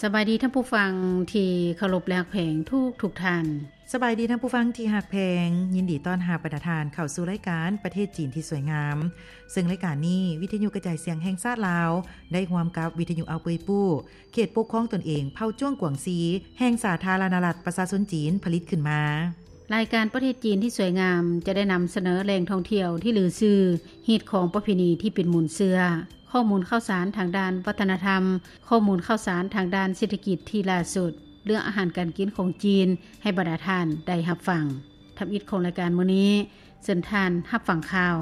ສະບາຍດີທ່ານຜູ້ຟັງທີ່ເຄົາລົບ ແລະ ຮັກແພງທຸກໆທ່ານ. ສະບາຍດີທ່ານຜູ້ຟັງທີ່ຮັກແພງ, ຍິນດີຕ້ອນຮັບບັນດາທ່ານເຂົ້າສູ່ລາຍການປະເທດຈີນທີ່ສວຍງາມ, ເຊິ່ງລາຍການນີ້ ວິທະຍຸກະຈາຍສຽງແຫ່ງຊາດລາວ ໄດ້ຮ່ວມກັບວິທະຍຸເອົາເປີຍປູ້ ເຂດປົກຄອງຕົນເອງເຜົ່າຈວງກວາງຊີ ແຫ່ງສາທາລະນະລັດປະຊາຊົນຈີນ ຜະລິດຂຶ້ນມາ. ລາຍການປະເທດຈີນທີ່ສວຍງາມ ຈະໄດ້ນຳສະເໜີແຫຼ່ງທ່ອງທ່ຽວທີ່ລືຊື່, ຮີດຄອງປະເພນີທີ່ເປັນມູນເຊື້ອ, ຂໍ້ມູນຂ່າວສານທາງດ້ານວັດທະນະທຳ, ຂໍ້ມູນຂ່າວສານທາງດ້ານເສດຖະກິດທີ່ລ່າສຸດ, ເລື່ອງອາຫານການກິນຂອງຈີນ ໃຫ້ບັນດາທ່ານໄດ້ຮັບຟັງ. ທຳອິດຂອງລາຍການມື້ນີ້, ເຊີນທ່ານຮັບຟັງຂ່າວ.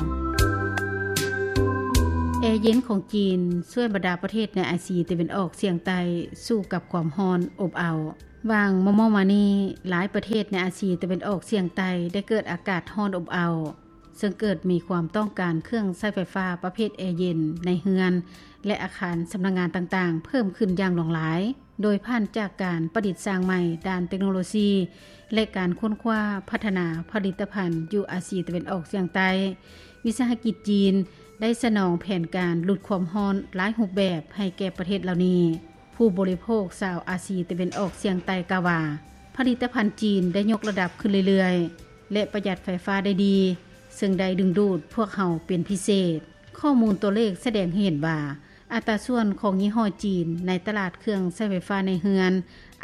ແອເຢັນຂອງຈີນຊ່ວຍບັນດາປະເທດໃນອາຊີຕາເວັນອອກສຽງໃຕ້ສູ້ກັບຄວາມຮ້ອນອົບເອົາ. ຫວ່າງມໍ່ໆມານີ້, ຫຼາຍປະເທດໃນອາຊີຕາເວັນອອກສຽງໃຕ້ໄດ້ເກີດອາກາດຮ້ອນອົບເອົາ, ເຊິ່ງເກີດມີຄວາມຕ້ອງການເຄື່ອງໃຊ້ໄຟຟ້າປະເພດແອເຢັນໃນເຮືອນ ແລະ ອາຄານສຳນັກງານຕ່າງໆເພີ່ມຂຶ້ນຢ່າງຫຼວງຫຼາຍ, ໂດຍຜ່ານຈາກການປະດິດສ້າງໃໝ່ດ້ານເຕັກໂນໂລຊີ ແລະ ການຄົ້ນຄວ້າພັດທະນາຜະລິດຕະພັນຢູ່ອາຊີຕາເວັນອອກສຽງໃຕ້, ວິສາຫະກິດຈີນໄດ້ສະໜອງແຜນການຫຼຸດຄວາມຮ້ອນຫຼາຍຮູບແບບໃຫ້ແກ່ປະເທດເຫຼົ່ານີ້. ຜູ້ບໍລິໂພກຊາວອາຊີຕາເວັນອອກສຽງໃຕ້ກ່າວວ່າ, ຜະລິດຕະພັນຈີນໄດ້ຍົກລະດັບຂຶ້ນເລື້ອຍໆ ແລະ ປະຢັດໄຟຟ້າໄດ້ດີ, ເຊິ່ງໄດ້ດຶງດູດພວກເຮົາເປັນພິເສດ. ຂໍ້ມູນຕົວເລກສະແດງໃຫ້ເຫັນວ່າ, ອັດຕາສ່ວນຂອງຍີ່ຫໍ້ຈີນໃນຕະຫຼາດເຄື່ອງໃຊ້ໄຟຟ້າໃນເຮືອນ,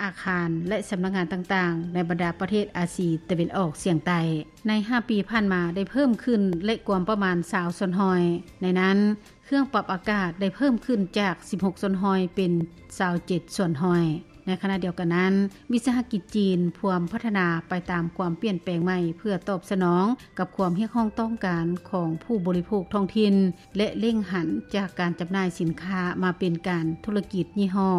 ອາຄານ ແລະ ສຳນັກງານຕ່າງໆ ໃນບັນດາປະເທດອາຊີຕາເວັນອອກສຽງໃຕ້ ໃນຫ້າປີຜ່ານມາໄດ້ເພີ່ມຂຶ້ນ ແລະ ກວມປະມານຊາວສ່ວນຮ້ອຍ. ໃນນັ້ນ, ເຄື່ອງປັບອາກາດໄດ້ເພີ່ມຂຶ້ນຈາກສິບຫົກສ່ວນຮ້ອຍເປັນຊາວເຈັດສ່ວນຮ້ອຍ. ໃນຂະນະດຽວກັນນັ້ນ, ວິສາຫະກິດຈີນພວມພັດທະນາໄປຕາມຄວາມປ່ຽນແປງໃໝ່ ເພື່ອຕອບສະໜອງກັບຄວາມຮຽກຮ້ອງຕ້ອງການຂອງຜູ້ບໍລິໂພກທ້ອງຖິ່ນ ແລະ ເລັ່ງຫັນຈາກການຈຳໜ່າຍສິນຄ້າມາເປັນການທຸລະກິດຍີ່ຫໍ້,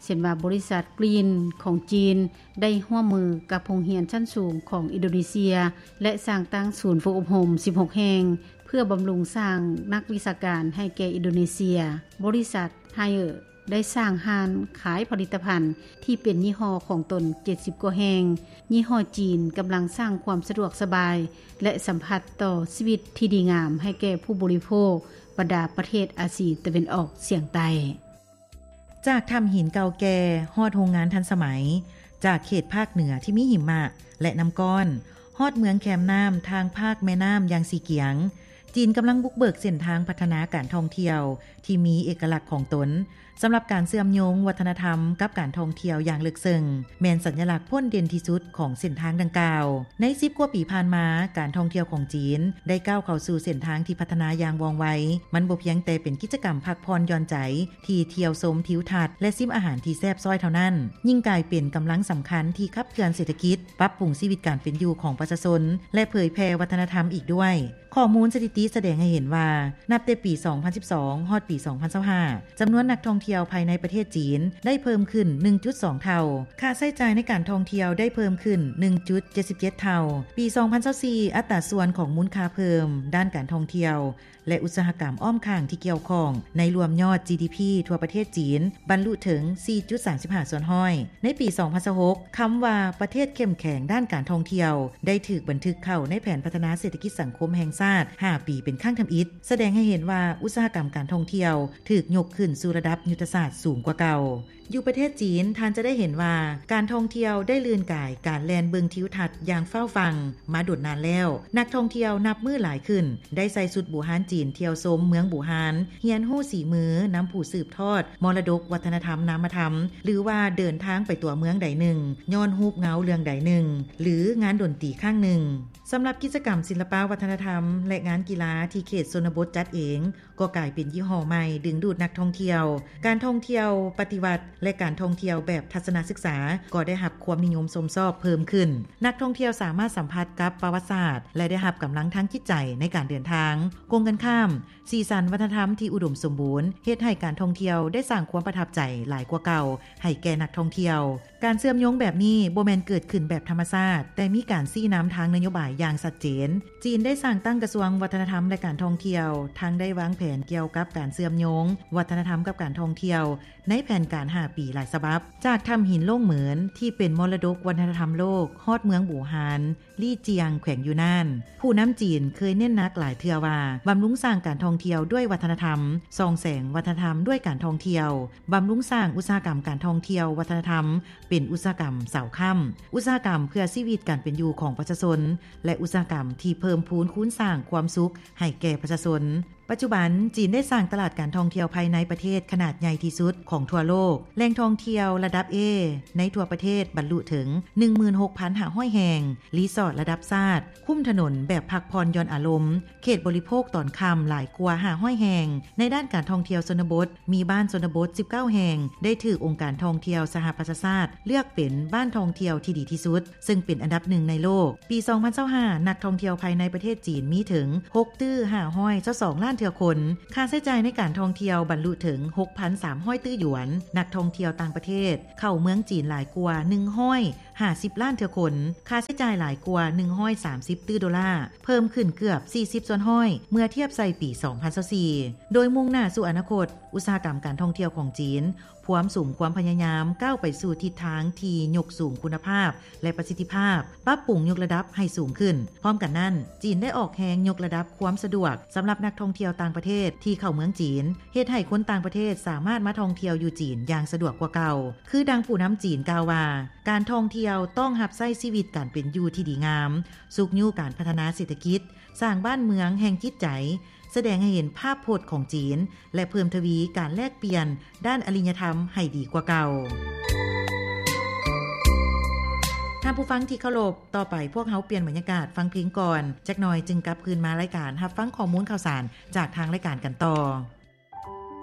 ເຊັ່ນວ່າ ບໍລິສັດ Green ຂອງຈີນ ໄດ້ຮ່ວມມືກັບໂຮງຮຽນຊັ້ນສູງຂອງອິນໂດເນເຊຍ ແລະ ສ້າງຕັ້ງສູນຝຶກອົບຮົມສິບຫົກແຫ່ງ ເພື່ອບຳລຸງສ້າງນັກວິຊາການໃຫ້ແກ່ອິນໂດເນເຊຍ. ບໍລິສັດ Haier ໄດ້ສ້າງຮ້ານຂາຍຜະລິດຕະພັນທີ່ເປັນຍີ່ຫໍ້ຂອງຕົນເຈັດສິບກວ່າແຫ່ງ. ຍີ່ຫໍ້ຈີນກຳລັງສ້າງຄວາມສະດວກສະບາຍ ແລະ ສຳຜັດຕໍ່ຊີວິດທີ່ດີງາມໃຫ້ແກ່ຜູ້ບໍລິໂພກບັນດາປະເທດອາຊີຕາເວັນອອກສຽງໃຕ້. ຈາກຖ້ຳຫີນເກົ່າແກ່ຮອດໂຮງງານທັນສະໄໝ, ຈາກເຂດພາກເໜືອທີ່ມີຫິມະ ແລະ ນ້ຳກ້ອນ ຮອດເມືອງແຄມນ້ຳທາງພາກແມ່ນ້ຳຢ່າງຊີກຽງ, ຈີນກຳລັງບຸກເບີກເສັ້ນທາງພັດທະນາການທ່ອງທ່ຽວທີ່ມີເອກະລັກຂອງຕົນ. ສຳລັບການເຊື່ອມໂຍງວັດທະນະທຳກັບການທ່ອງທ່ຽວຢ່າງເລິກເຊິ່ງ ແມ່ນສັນຍະລັກພົ້ນເດັ່ນທີ່ສຸດຂອງເສັ້ນທາງດັ່ງກ່າວ. ໃນສິບກວ່າປີຜ່ານມາ, ການທ່ອງທ່ຽວຂອງຈີນໄດ້ກ້າວເຂົ້າສູ່ເສັ້ນທາງທີ່ພັດທະນາຢ່າງວ່ອງໄວ. ມັນບໍ່ພຽງແຕ່ເປັນກິດຈະກຳພັກຜ່ອນຢ່ອນໃຈ ທີ່ທ່ຽວຊົມທິວທັດ ແລະ ຊິມອາຫານທີ່ແຊບຊ້ອຍເທົ່ານັ້ນ, ຍິ່ງກາຍເປັນກຳລັງສຳຄັນທີ່ຂັບເຄື່ອນເສດຖະກິດ, ປັບປຸງຊີວິດການເປັນຢູ່ຂອງປະຊາຊົນ ແລະ ເຜີຍແຜ່ວັດທະນະທຳອີກດ້ວຍ. ຂໍ້ມູນສະຖິຕິສະແດງໃຫ້ເຫັນວ່າ, ນັບແຕ່ປີສອງພັນສິບສອງ ຮອດປີສອງພັນຊາວຫ້າ ຈຳນວນນັກທ່ອງທ່ຽວພາຍໃນປະເທດຈີນໄດ້ເພີ່ມຂຶ້ນໜຶ່ງຈຸດສອງເທົ່າ, ຄ່າໃຊ້ຈ່າຍໃນການທ່ອງທ່ຽວໄດ້ເພີ່ມຂຶ້ນໜຶ່ງຈຸດເຈັດສິບເຈັດເທົ່າ. ປີສອງພັນຊາວສີ່ ອັດຕາສ່ວນຂອງມູນຄ່າເພີ່ມດ້ານການທ່ອງທ່ຽວ ແລະ ອຸດສາຫະກຳອ້ອມຂ້າງທີ່ກ່ຽວຂ້ອງໃນລວມຍອດ ຈີດີພີ ທົ່ວປະເທດຈີນບັນລຸເຖິງສີ່ຈຸດສາມສິບຫ້າສ່ວນຮ້ອຍ. ໃນປີສອງພັນຊາວຫົກ ຄຳວ່າປະເທດເຂັ້ມແຂງດ້ານການທ່ອງທ່ຽວ ໄດ້ຖືກບັນທຶກເຂົ້າໃນແຜນພັດທະນາເສດຖະກິດສັງຄົມແຫ່ງຊາດຫ້າປີເປັນຄັ້ງທຳອິດ, ສະແດງໃຫ້ເຫັນວ່າອຸດສາຫະກຳການທ່ອງທ່ຽວຖືກຍົກຂຶ້ນສູ່ລະດັບຍຸດທະສາດສູງກວ່າເກົ່າ. ຢູ່ປະເທດຈີນ, ທ່ານຈະໄດ້ເຫັນວ່າການທ່ອງທ່ຽວໄດ້ລື່ນກາຍການແລ່ນເບິ່ງທິວທັດຢ່າງຟ້າວຟັ່ງມາດົນນານແລ້ວ. ນັກທ່ອງທ່ຽວນັບມື້ຫຼາຍຂຶ້ນ ໄດ້ໃສ່ຊຸດບູຮານຈີນທ່ຽວຊົມເມືອງບູຮານ, ຮຽນຮູ້ສີມືນຳຜູ້ສືບທອດມໍລະດົກວັດທະນະທຳນາມະທຳ ຫຼືວ່າເດີນທາງໄປຕົວເມືອງໃດໜຶ່ງຍ້ອນຮູບເງົາເລື່ອງໃດໜຶ່ງ ຫຼືງານດົນຕີຄັ້ງໜຶ່ງ. ສຳລັບກິດຈະກຳສິລະປະວັດທະນະທຳ ແລະ ງານກິລາທີ່ເຂດຊົນນະບົດຈັດເອງ ກໍກາຍເປັນຍີ່ຫໍ້ໃໝ່ດຶງດູດນັກທ່ອງທ່ຽວ. ການທ່ອງທ່ຽວປະຕິວັດ ແລະ ການທ່ອງທ່ຽວແບບທັດສະນະສຶກສາ ກໍໄດ້ຮັບຄວາມນິຍົມຊົມຊອບເພີ່ມຂຶ້ນ. ນັກທ່ອງທ່ຽວສາມາດສຳຜັດກັບປະຫວັດສາດ ແລະ ໄດ້ຮັບກຳລັງທາງຈິດໃຈໃນການເດີນທາງ. ກົງກັນຂ້າມ, ສີສັນວັດທະນະທຳທີ່ອຸດົມສົມບູນ ເຮັດໃຫ້ການທ່ອງທ່ຽວໄດ້ສ້າງຄວາມປະທັບໃຈຫຼາຍກວ່າເກົ່າໃຫ້ແກ່ນັກທ່ອງທ່ຽວ. ການເຊື່ອມໂຍງແບບນີ້ບໍ່ແມ່ນເກີດຂຶ້ນແບບທຳມະຊາດ, ແຕ່ມີການຊີ້ນຳທາງນະໂຍບາຍຢ່າງຊັດເຈນ. ຈີນໄດ້ສ້າງຕັ້ງກະຊວງວັດທະນະທຳ ແລະ ການທ່ອງທ່ຽວ, ທັງໄດ້ວາງແຜນກ່ຽວກັບການເຊື່ອມໂຍງວັດທະນະທຳກັບການທ່ອງ ທ່ຽວໃນແຜນການຫ້າປີຫຼາຍສະບັບ. ຈາກຖ້ຳຫີນໂລ້ງເໝິນທີ່ເປັນມໍລະດົກວັດທະນະທຳໂລກ ຮອດເມືອງບູຮານ ລີຈຽງ ແຂວງຢູ່ນານ, ຜູ້ນຳຈີນເຄີຍເນັ້ນໜັກຫຼາຍເທື່ອວ່າ ບຳລຸງສ້າງການທ່ອງທ່ຽວດ້ວຍວັດທະນະທຳ, ສ່ອງແສງວັດທະນະທຳດ້ວຍການທ່ອງທ່ຽວ, ບຳລຸງສ້າງອຸດສາຫະກຳການທ່ອງທ່ຽວວັດທະນະທຳ ເປັນອຸດສາຫະກຳເສົາຄ້ຳ, ອຸດສາຫະກຳເພື່ອຊີວິດການເປັນຢູ່ຂອງປະຊາຊົນ ແລະ ອຸດສາຫະກຳທີ່ເພີ່ມພູນຄູນສ້າງຄວາມສຸກໃຫ້ແກ່ປະຊາຊົນ. ປັດຈຸບັນ, ຈີນໄດ້ສ້າງຕະຫຼາດການທ່ອງທ່ຽວພາຍໃນປະເທດຂະໜາດໃຫຍ່ທີ່ສຸດຂອງທົ່ວໂລກ. ແຫຼ່ງທ່ອງທ່ຽວລະດັບ A ໃນທົ່ວປະເທດບັນລຸເຖິງ ໜຶ່ງໝື່ນຫົກພັນຫ້າຮ້ອຍແຫ່ງ, ຣີສອດລະດັບຊາດ, ຄຸ້ມຖະໜົນແບບພັກຜ່ອນຢ່ອນອາລົມ, ເຂດບໍລິໂພກຕອນຄ່ຳຫຼາຍກວ່າຫ້າຮ້ອຍແຫ່ງ. ໃນດ້ານການທ່ອງທ່ຽວຊົນນະບົດ, ມີບ້ານຊົນນະບົດສິບເກົ້າແຫ່ງ ໄດ້ຖືກອົງການທ່ອງທ່ຽວສະຫະປະຊາຊາດເລືອກເປັນບ້ານທ່ອງທ່ຽວທີ່ດີທີ່ສຸດ, ເຊິ່ງເປັນອັນດັບໜຶ່ງໃນໂລກ. ປີສອງພັນຊາວຫ້າ ນັກທ່ອງທ່ຽວພາຍໃນປະເທດຈີນມີເຖິງ ຫົກຕື້ຫ້າຮ້ອຍຊາວສອງລ້ານເທື່ອຄົນ. ຄ່າໃຊ້ຈ່າຍໃນການທ່ອງທ່ຽວບັນລຸເຖິງ ຫົກພັນສາມຮ້ອຍຕື້ຢວນ. ນັກທ່ອງທ່ຽວຕ່າງປະເທດເຂົ້າເມືອງຈີນຫຼາຍກວ່າ ໜຶ່ງຮ້ອຍຫ້າສິບລ້ານເທື່ອຄົນ. ຄ່າໃຊ້ຈ່າຍຫຼາຍກວ່າ ໜຶ່ງຮ້ອຍສາມສິບຕື້ໂດລາ, ເພີ່ມຂຶ້ນເກືອບ ສີ່ສິບສ່ວນຮ້ອຍ ເມື່ອທຽບໃສ່ປີສອງພັນຊາວສີ່. ໂດຍມຸ່ງໜ້າສູ່ອະນາຄົດ, ອຸດສາຫະກຳການທ່ອງທ່ຽວຂອງຈີນ ພວມສຸມຄວາມພະຍາຍາມກ້າວໄປສູ່ທິດທາງທີ່ຍົກສູງຄຸນນະພາບ ແລະ ປະສິດທິພາບ, ປັບປຸງຍົກລະດັບໃຫ້ສູງຂຶ້ນ. ພ້ອມກັນນັ້ນ, ຈີນໄດ້ອອກແຮງຍົກລະດັບຄວາມສະດວກສຳລັບນັກທ່ອງທ່ຽວຕ່າງປະເທດທີ່ເຂົ້າເມືອງຈີນ, ເຮັດໃຫ້ຄົນຕ່າງປະເທດສາມາດມາທ່ອງທ່ຽວຢູ່ຈີນຢ່າງສະດວກກວ່າເກົ່າ. ຄືດັ່ງຜູ້ນຳຈີນກ່າວວ່າ, ການທ່ອງທ່ຽວຕ້ອງຮັບໃຊ້ຊີວິດການເປັນຢູ່ທີ່ດີງາມ, ຊຸກຍູ້ການພັດທະນາເສດຖະກິດ, ສ້າງບ້ານເມືອງແຫ່ງຈິດໃຈ, ສະແດງໃຫ້ເຫັນພາບພົດຂອງຈີນ ແລະ ເພີ່ມທະວີການແລກປ່ຽນດ້ານອະລິຍະທຳໃຫ້ດີກວ່າເກົ່າ. ທ່ານຜູ້ຟັງທີ່ເຄົາລົບ, ຕໍ່ໄປພວກເຮົາປ່ຽນບັນຍາກາດຟັງເພງກ່ອນຈັກໜ່ອຍ, ຈຶ່ງກັບຄືນມາລາຍການຮັບຟັງຂໍ້ມູນຂ່າວສານຈາກທາງລາຍການກັນຕໍ່.